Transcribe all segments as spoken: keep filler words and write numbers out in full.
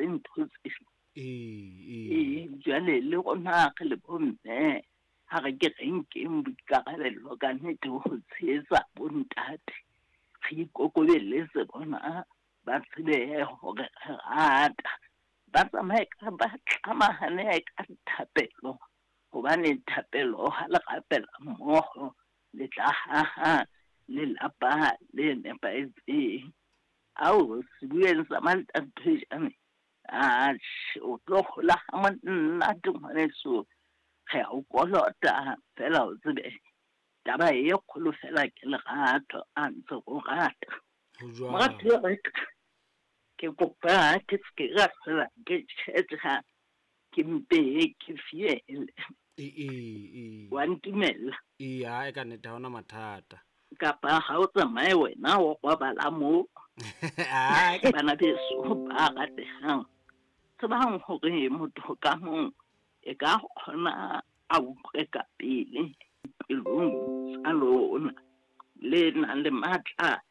ntho tseo. Ee, ee. Ee, jwale le rona re le bomme ha re ke re nkeng boikarabello ka nnete ho tshehetsa bontate. Re ikokobelletse bona, ba tsebe hore re rata. Ba tsamaye ka ba tlamahane ka thapelo, hobane thapelo ha le rapela mmoho le tla haha lelapa le nepahetseng. Ao sebueng sa Mantathejane, atjhe o tlo hola ha monate ngwaneso. Re a o kolota fela o tsebe taba e kgolo fela ke lerato, a ntse o rata. Ho jwalo. Moratuwa wa ka, ke kopa ke se ke ka hlola ke tjhetjha, ke mpe ke fiele. Ee, ee, ee. Wa ntumella? Ee, ha e ka nnete ha hona mathata. Kapa ha o tsamaye wena o robala moo. Ah, ke Bana beso ba ratehang, tsebang hore motho ka mong e ka kgona a utlwe ka pele pelong tsa lona, le nang le matla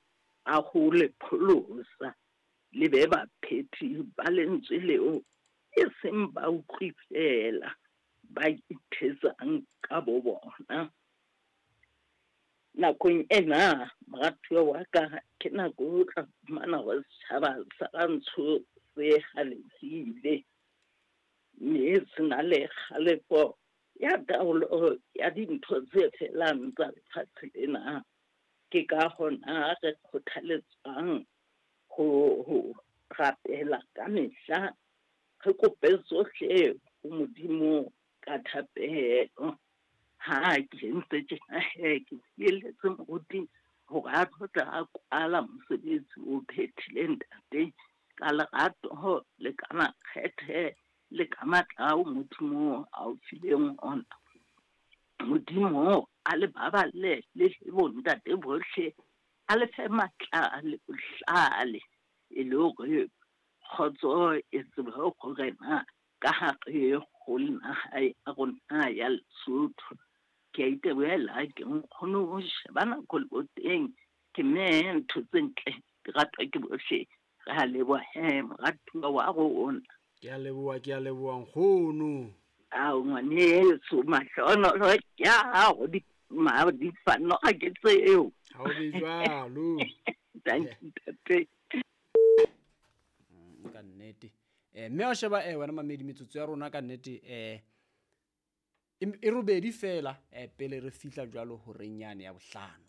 a ho le pholosa, le be baphethi ba lentswe leo, e seng ba utlwi feela, ba ithetsang ka bo bona. Nakong ena, moratuwa wa ka, ke nako o tla fumana hore setjhaba sa rantsho se halefile, mme se na le kgalefo ya taolo ya dintho tse felang tsa lefatshe lena. Ke ka hona re kgothaletswang ho, ho rapela ka mehla, re kope tsohle ho Modimo ka thapelo. Ha ke entse tjena he, ke fieletse moruti hore a tlo tla a kwala mosebetsi o phethile ntate ka lerato le ka makgethe le ka matla ao Modimo a o fileng ona. Modimo a le baballe le le bontate bohle, a le fe matla le bohlale, e le hore kgotso e tsebe ho rena ka hare ho naha ya rona ya Lesotho. Ke a itebohela, ke nkgono ho sheba nako le boteng, ke mme ntho tse ntle di ratwa ke bohle. Re a leboha he, moratuwa wa rona. Ke a leboha, ke a leboha nkgono. Ao ngwaneso, mahlonolo ke a hao, di, ma, di fanoga ke tseo. Ha o be jwalo. Thank you, ntate. Mm, ka nnete. Eh, mme wa sheba, eh, wena mamedi, metsotso ya rona ka nnete, eh, e, e robedi fela, eh, pele re fihla jwalo horeng yane ya bohlano.